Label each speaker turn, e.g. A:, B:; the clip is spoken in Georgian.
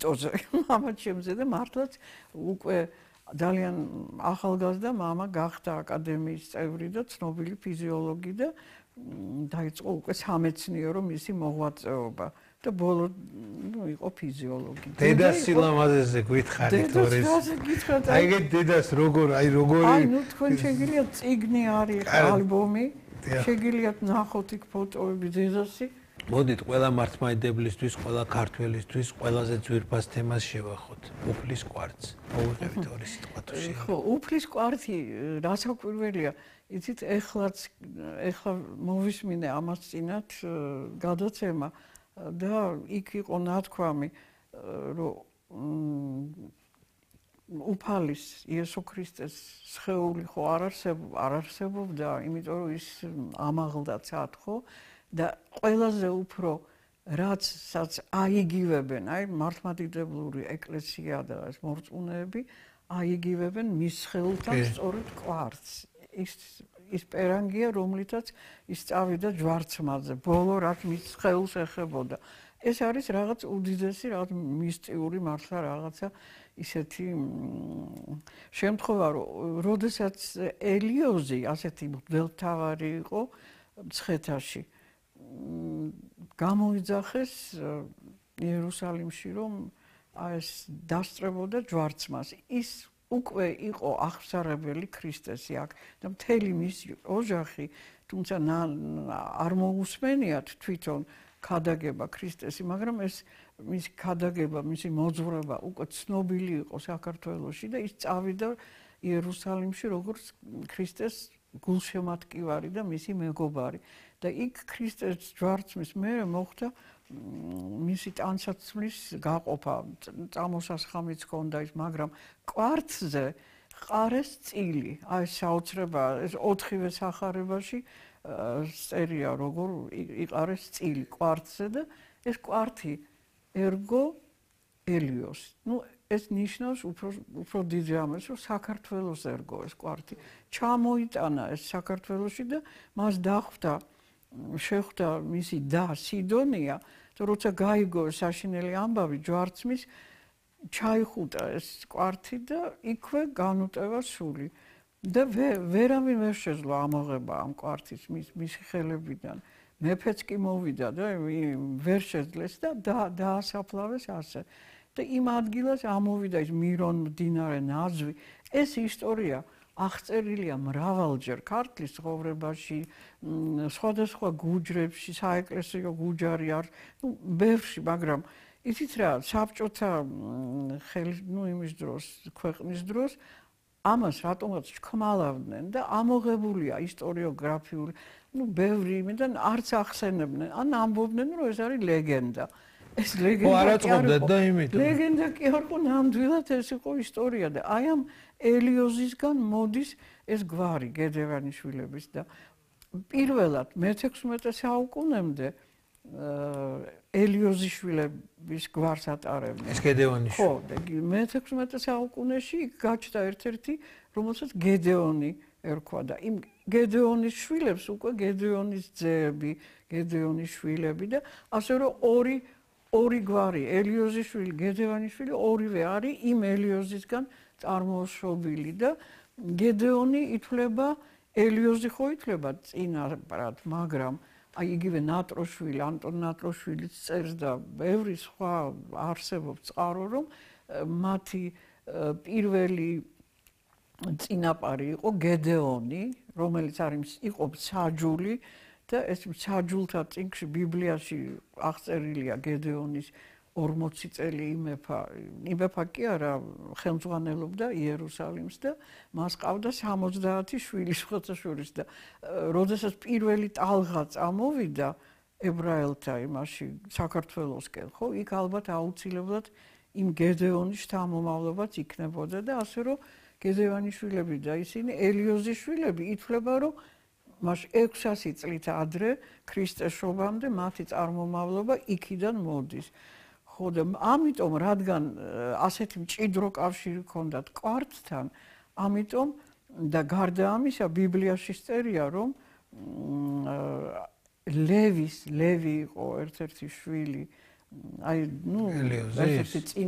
A: ტოზე მამა ჩემზე და მართლაც უკვე ძალიან ახალგაზრდა მამა გახდა აკადემიის წევრი და ცნობილი ფიზიოლოგი და დაიწყო უკვე სამეცნიერო მისი მოღვაწეობა და ბოლო იყო ფიზიოლოგი.
B: დედას სილამაზეზე გითხარით ორი. აი ეგ დედას როგორ
A: აი ნუ თქვენ შეგიძლიათ წიგნი არის ალბომი შეგიძლიათ ნახოთ იქ ფოტოები დედასი.
B: მოდით ყველა მართლმადიდებლისთვის, ყველა ქართველისთვის ყველაზე ძვირფას თემას შევახოთ. უფლის კვართს. მოვიღებით ორი სიტყვა თუ შეიძლება.
A: ხო, უფლის კვართი რასაკვირველია. იცით, ეხლა მოვისმინე ამას წინათ გადაცემა და იქ იყო ნათქვამი, რომ უფალის იესო ქრისტეს სხეული ხო არ არსებობდა, იმიტომ რომ ის ამაღლდა ცად ხო და ყველაზე უფრო რაცაც აიგივებენ, აი მართლმადიდებლური ეკლესია და ეს მორწმუნეები აიგივებენ მის სხეულთან სწორედ კვართს. ის პერანგია, რომლითაც ის წავიდა ჯვარცმაზე, ბოლო რაც მის სხეულს ეხებოდა. ეს არის რაღაც უდიდესი, რაღაც მისტიური მართლა რაღაცა ისეთი შემთხვევა, რომ როდესაც ელიოზი ასეთი მღვდელმთავარი იყო მცხეთაში გამოიძახეს იერუსალიმში რომ ეს დასწრებოდა ჯვარცმას. ის უკვე იყო აღსარებელი ქრისტესი აქ და მთელი მისი ოჯახი, თუმცა არ მოусმენიათ თვითონ ქადაგება ქრისტესი, მაგრამ ეს მისი ქადაგება, მისი მოძღვრება უკვე ცნობილი იყო საქართველოში და ის წავიდა იერუსალიმში როგორც ქრისტეს გულშემატკივარი და მისი მეგობარი. და იქ ქრისტეს ჯვარცმის მერე მოხდა მისი ტანსაცმლის გაყოფა, წამოსასხამიც ჰქონდა ის, მაგრამ კვართზე ყარეს წილი. აი საოცრებაა, ეს 4-ვე სახარებაში წერია, როგორ იყარეს წილი კვართზე და ეს კვართი ერგო ელიოს. ნუ ეს ნიშნავს უფრო დიდ რამეს, რომ საქართველოს ერგო ეს კვართი. ჩამოიტანა ეს საქართველოში და მას შეხვდა მისი და სიდონია, და როცა გაიგო საშინელი ამბავი ჯვარცმის, ჩაიხუტა ეს კვართი და იქვე განუტევა სული. და ვერავინ ვერ შეძლო ამოღება ამ კვართის მისი ხელებიდან. მეფეც კი მოვიდა და ვერ შეძლეს და დაასაფლავეს ასე. და იმ ადგილას ამოვიდა ის მირონ მდინარე ნაძვი. ეს ისტორია აღწერილია მრავალჯერ ქართლის ცხოვრებაში, სხვადასხვა გუჯრებში, საეკლესიო გუჯარი არის, ბევრში, მაგრამ იცით რა, საბჭოთა იმის დროს, ქვეყნის დროს ამას რატომაც ჩქმალავდნენ და ამოღებულია ისტორიოგრაფიული, ბევრი იმიდან არც ახსენებდნენ, ან ამბობდნენ, რომ ეს არის ლეგენდა. ეს ლეგენდა კი არ იყო, ნამდვილად ეს იყო ისტორია და აი ამ ელიოზისგან მოდის ეს გვარი გედევანიშვილების და პირველად მე-16 საუკუნემდე ელიოზიშვილების გვარს ატარებდნენ.
B: ეს გედეონიშვილი.
A: ხო, მე-16 საუკუნეში გაჩნდა ერთ-ერთი, რომელსაც გედეონი ერქვა და იმ გედეონის შვილებს უკვე გედეონის ძეები, გედეონის შვილები და ასე რომ ორი გვარი, ელიოზიშვილი, გედევანიშვილი, ორივე არის იმ ელიოზისგან წარმოშობილი და გედეონი ითვლება, ელიოზი ხო ითვლება წინაპრად, მაგრამ აი იგივე ნატროშვილი, ანტონ ნატროშვილიც წერს და ბევრი სხვა არსებობს წყარო, რომ მათი პირველი წინაპარი იყო გედეონი, რომელიც იყო მსაჯული და ეს მსაჯულთა წიგნში ბიბლიაში აღწერილია გედეონის 40 წელი იმეფა კი არა, ხელმძღვანელობდა იერუსალიმს და მას ყავდა 70 შვილი სხვათა შორის და როდესაც პირველი ტალღა წამოვიდა ებრაელთა იმაში საქართველოსკენ, ხო, იქ ალბათ აუცილებლად იმ გედეონის შთამომავლობაც იქნებოდა და ასე რომ გედევანიშვილები და ისინი ელიოზიშვილები ითვლება, რომ მას 600 წლით ადრე ქრისტეს შობამდე მათი წარმომავლობა იქიდან მოდის. ხო და ამიტომ რადგან ასეთი მჭიდრო კავშირი ჰქონდათ კვართთან, ამიტომ და გარდა ამისა ბიბლიაში წერია, რომ ლევი იყო ერთ-ერთი შვილი, აი, ერთ-ერთი წინა